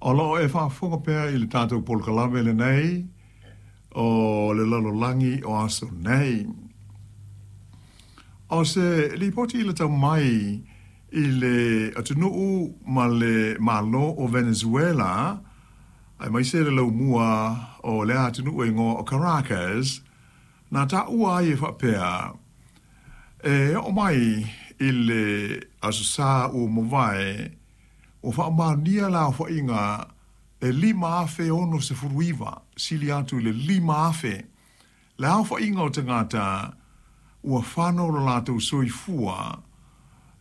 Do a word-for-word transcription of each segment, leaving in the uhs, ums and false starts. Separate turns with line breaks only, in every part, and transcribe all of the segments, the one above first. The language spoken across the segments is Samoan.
O loo e faafofoga pea i le tatou polokalame lenei o le lalolagi o aso nei. O se lipoti i le tau mai i le atunuu ma le Malo o Venezuela, aemaise le laumua o lea atunuu e igoa o Caracas, na taua ai e faapea, e oo mai i le Aso Sa ua mavae, ua faamaonia le aofaiga e lima afe ono sefulu iva, sili atu i le lima afe, le aofaiga o tagata ua fano lo latou soifua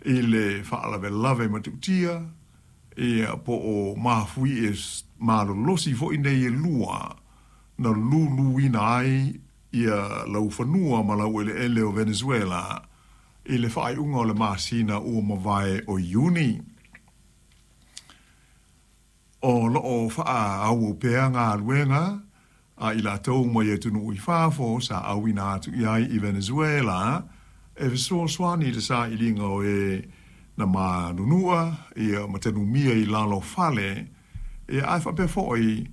i le faalavelave matautia, ia po o mafuie malolosi foi nei e lua na luluina ai ia laufanua ma laueleele o Venezuela i le faaiuga o le masina ua mavae o Iuni. O loo faaauau pea galuega a i latou mai atunuu i fafo sa auina atu i ai i Venezuela e fesoasoani i le sailiga o e na manunua ia ma tanumia i lalo o fale, ia ae faapea foi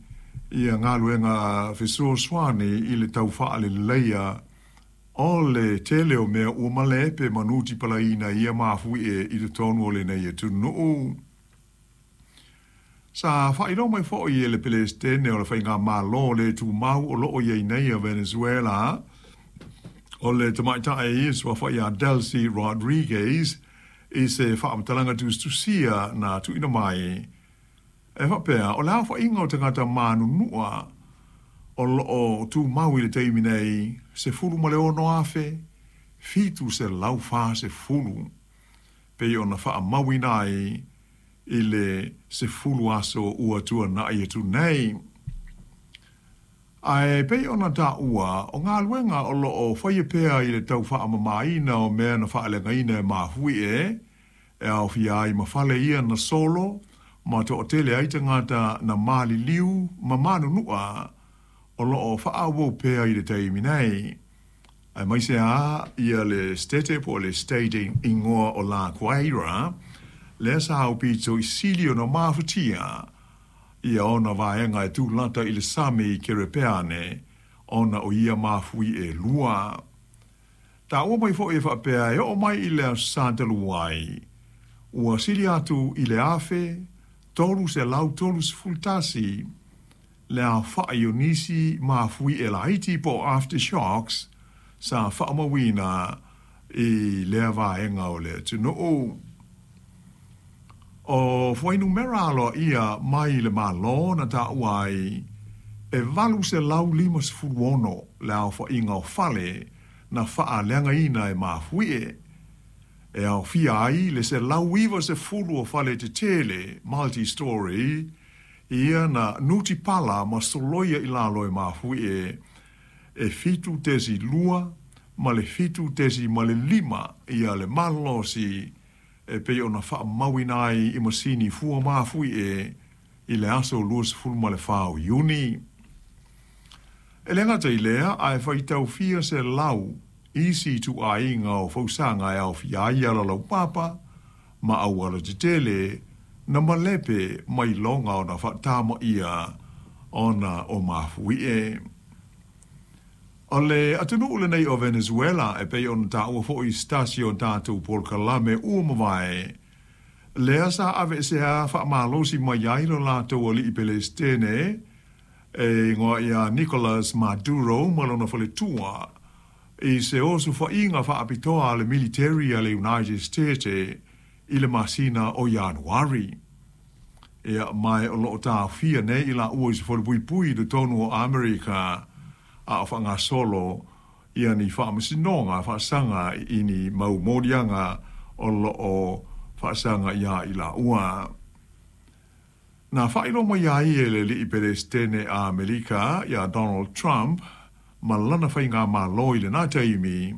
ia galuega fesoasoani i le tau faaleleia o le tele o mea ua malepe ma nutipalaina ia mafuie i totonu o lenei atunuu. Sa faailoa mai foi e le Peresetene o le Faigamalo le tumau o loo i ai nei a Venezuela, o le tamaitai suafa ia Delcy Rodriguez, i se faamatalaga tusitusia na tuuina mai e faapea, o le aofaiga o tagata manunua o loo tumau i le taimi nei sefulu ma le ono afe fitu selau fasefulu, pei ona faamauina ai i le sefulu aso ua tuanai atu nei. Ae pei ona taua o galuega o loo faia pea i le tau faamamaina o mea na faaleagaina e mafuie, e aofia ai ma fale ia na solo ma toatele ai tagata na maliliu ma manunua o loo faaauau pea i le taimi nei. Aemaise a ia le state po o le state igoa o La Guaira, lea sa aupito i sili ona mafatia ia ona vaega e tulata i le sami i Kerepeane ona o ia mafui e lua. Taua mai foi e faapea e oo mai i le Aso Sa talu ai, ua sili atu i le afe tolu selau tolu sefulu tasi le aofai o nisi mafui e laiti po o aftershocks sa faamauina i lea vaega o le atunuu. O fuainumera aloaia mai le Malo na taua ai e valu selau lima sefulu ono le aofaiga o fale na faaleagaina e mafuie, e aofia ai le selau iva sefulu o fale tetele multi-story ia na nutipala ma soloia i lalo e mafuie e fitu tesi lua ma le fitu tesi ma le lima ia le malosi e pei ona faamauina ai i masini fua mafuie i le aso luasefulu ma le fa o Iuni. E le gata i lea, ae faitaufia selau isi ituaiga o fausaga e aofia ai alalaupapa ma auala tetele na malepe mai loga ona faatamaia ona o mafuie. O le atunuu lenei o Venezuela e pei ona taua foi i se tasi o tatou polokalame ua mavae, lea sa aveesea faamalosi mai ai lo latou alii Peresetene e igoa ia Nicolas Maduro ma lona faletua i se osofaiga faapitoa a le military a le United States i le masina o Ianuari. Ia mae o loo taofia nei i laua i se falepuipui i totonu o Amerika a o faagasolo ia ni faamasinoga faasaga i ni mau moliaga o loo faasaga ia i laua. Na faailoa mai ai e le alii Peresetene a Amerika ia Donald Trump ma lana faigamalo i lena taimi